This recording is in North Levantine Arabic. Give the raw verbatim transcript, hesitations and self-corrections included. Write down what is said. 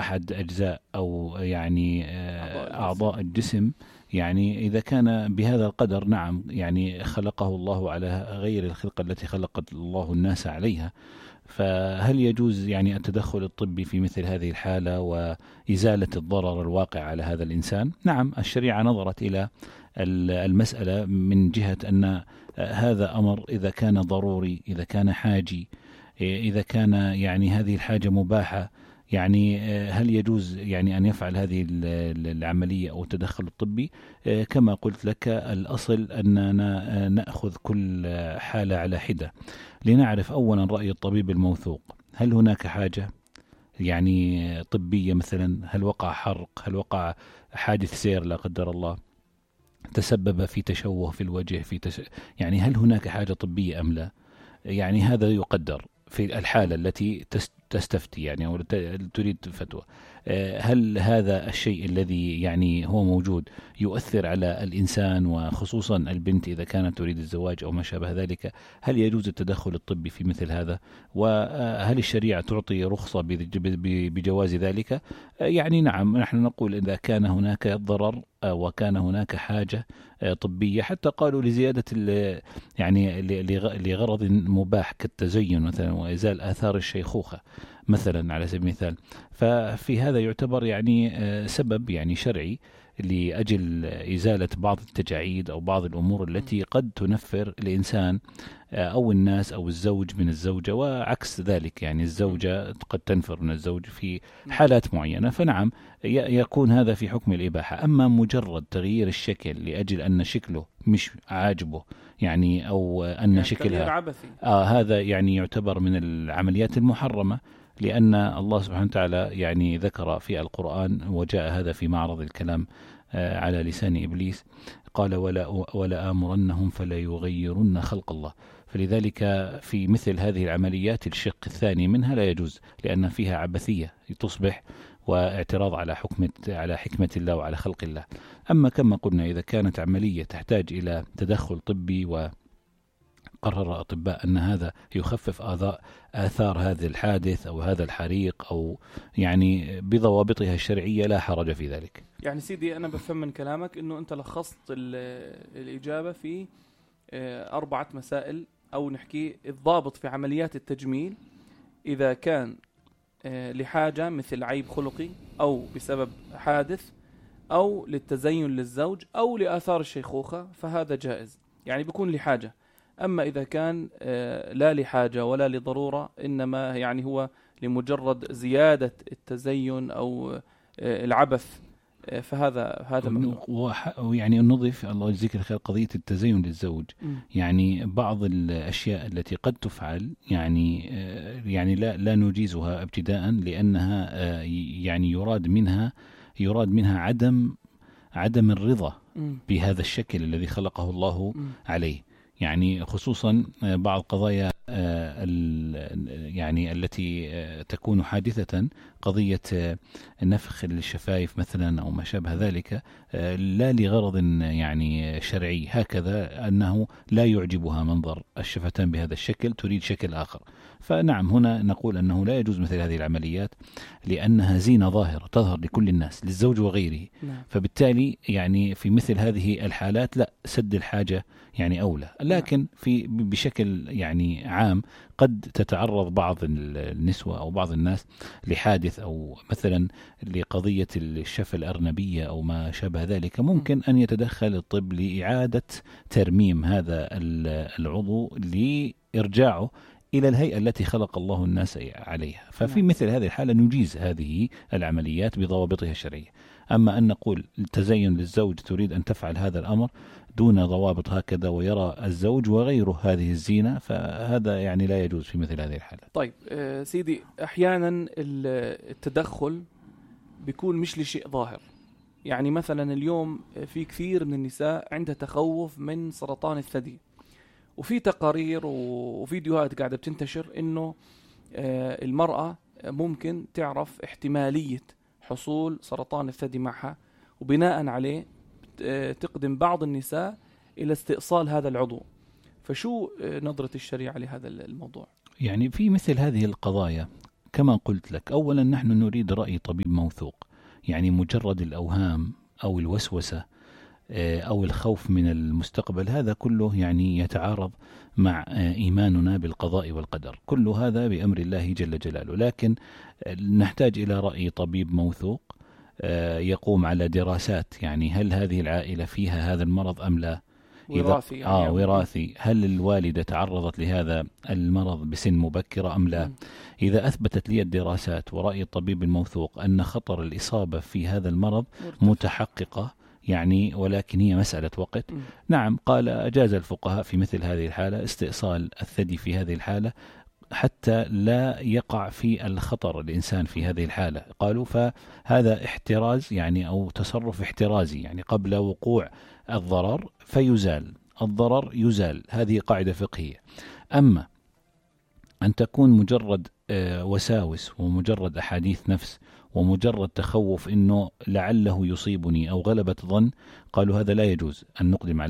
أحد أجزاء أو يعني أعضاء الجسم، يعني إذا كان بهذا القدر نعم يعني خلقه الله على غير الخلقة التي خلقت الله الناس عليها، فهل يجوز يعني التدخل الطبي في مثل هذه الحالة وإزالة الضرر الواقع على هذا الإنسان؟ نعم، الشريعة نظرت إلى المسألة من جهة أن هذا أمر إذا كان ضروري، إذا كان حاجي، إذا كان يعني هذه الحاجة مباحة، يعني هل يجوز يعني أن يفعل هذه العملية أو التدخل الطبي؟ كما قلت لك الأصل أننا نأخذ كل حالة على حدة لنعرف أولا رأي الطبيب الموثوق، هل هناك حاجة يعني طبية مثلا، هل وقع حرق، هل وقع حادث سير لا قدر الله تسبب في تشوه في الوجه، في تش... يعني هل هناك حاجة طبية أم لا؟ يعني هذا يقدر في الحالة التي تستفتي يعني أو تريد فتوى. هل هذا الشيء الذي يعني هو موجود يؤثر على الإنسان وخصوصا البنت إذا كانت تريد الزواج أو ما شابه ذلك؟ هل يجوز التدخل الطبي في مثل هذا؟ وهل الشريعة تعطي رخصة بجواز ذلك؟ يعني نعم، نحن نقول إذا كان هناك ضرر وكان هناك حاجة طبية، حتى قالوا لزيادة يعني لغرض مباح كالتزين مثلا وإزالة آثار الشيخوخة مثلا على سبيل المثال، ففي هذا يعتبر يعني سبب يعني شرعي لأجل إزالة بعض التجاعيد أو بعض الأمور التي قد تنفر الإنسان أو الناس أو الزوج من الزوجة، وعكس ذلك يعني الزوجة قد تنفر من الزوج في حالات معينة. فنعم يكون هذا في حكم الإباحة. أما مجرد تغيير الشكل لأجل أن شكله مش عاجبه يعني أو أن يعني شكلها آه هذا يعني يعتبر من العمليات المحرمة، لأن الله سبحانه وتعالى يعني ذكر في القرآن، وجاء هذا في معرض الكلام على لسان إبليس، قال ولا, ولا آمرنهم فلا يغيرن خلق الله. فلذلك في مثل هذه العمليات الشق الثاني منها لا يجوز، لأن فيها عبثية تصبح واعتراض على حكمة على حكمة الله وعلى خلق الله. أما كما قلنا إذا كانت عملية تحتاج إلى تدخل طبي و قرر أطباء أن هذا يخفف آثار هذا الحادث أو هذا الحريق أو يعني بضوابطها الشرعية لا حرج في ذلك. يعني سيدي أنا بفهم من كلامك أنه أنت لخصت الإجابة في أربعة مسائل، أو نحكي الضابط في عمليات التجميل إذا كان لحاجة مثل عيب خلقي أو بسبب حادث أو للتزين للزوج أو لآثار الشيخوخة فهذا جائز، يعني بيكون لحاجة. أما إذا كان لا لحاجة ولا لضرورة، إنما يعني هو لمجرد زيادة التزين أو العبث، فهذا هذا ممنوع. ويعني نضيف الله يجزيك الخير قضية التزين للزوج، م. يعني بعض الأشياء التي قد تفعل يعني يعني لا لا نجيزها ابتداء، لأنها يعني يراد منها يراد منها عدم عدم الرضا م. بهذا الشكل الذي خلقه الله م. عليه. يعني خصوصا بعض قضايا يعني التي تكون حادثة، قضية نفخ الشفايف مثلا أو ما شابه ذلك، لا لغرض يعني شرعي، هكذا أنه لا يعجبها منظر الشفتان بهذا الشكل، تريد شكل آخر. فنعم هنا نقول أنه لا يجوز مثل هذه العمليات، لأنها زينة ظاهرة تظهر لكل الناس للزوج وغيره. فبالتالي يعني في مثل هذه الحالات لا، سد الحاجة يعني أولى. لكن في بشكل يعني عام قد تتعرض بعض النسوة أو بعض الناس لحادث أو مثلا لقضية الشفة الأرنبية أو ما شابه ذلك، ممكن أن يتدخل الطب لإعادة ترميم هذا العضو لإرجاعه إلى الهيئة التي خلق الله الناس عليها. ففي مثل هذه الحالة نجيز هذه العمليات بضوابطها الشرعية. أما أن نقول التزين للزوج تريد أن تفعل هذا الأمر دون ضوابط هكذا ويرى الزوج وغيره هذه الزينة، فهذا يعني لا يجوز في مثل هذه الحالة. طيب آه سيدي، أحيانا التدخل بيكون مش لشيء ظاهر. يعني مثلا اليوم في كثير من النساء عندها تخوف من سرطان الثدي، وفي تقارير وفيديوهات قاعدة بتنتشر إنه آه المرأة ممكن تعرف احتمالية حصول سرطان الثدي معها، وبناء عليه تقدم بعض النساء إلى استئصال هذا العضو. فشو نظرة الشريعة لهذا الموضوع؟ يعني في مثل هذه القضايا كما قلت لك، أولا نحن نريد رأي طبيب موثوق. يعني مجرد الأوهام أو الوسوسة أو الخوف من المستقبل هذا كله يعني يتعارض مع إيماننا بالقضاء والقدر، كل هذا بأمر الله جل جلاله. لكن نحتاج إلى رأي طبيب موثوق يقوم على دراسات، يعني هل هذه العائلة فيها هذا المرض أم لا؟ وراثي يعني آه وراثي، هل الوالدة تعرضت لهذا المرض بسن مبكرة أم لا؟ م. إذا أثبتت لي الدراسات ورأي الطبيب الموثوق أن خطر الإصابة في هذا المرض مرتفع. متحققة يعني، ولكن هي مسألة وقت. م. نعم، قال أجاز الفقهاء في مثل هذه الحالة استئصال الثدي في هذه الحالة حتى لا يقع في الخطر الإنسان في هذه الحالة. قالوا فهذا احتراز يعني أو تصرف احترازي، يعني قبل وقوع الضرر فيزال الضرر يزال، هذه قاعدة فقهية. أما أن تكون مجرد وساوس ومجرد أحاديث نفس ومجرد تخوف إنه لعله يصيبني أو غلبة ظن، قالوا هذا لا يجوز أن نقدم على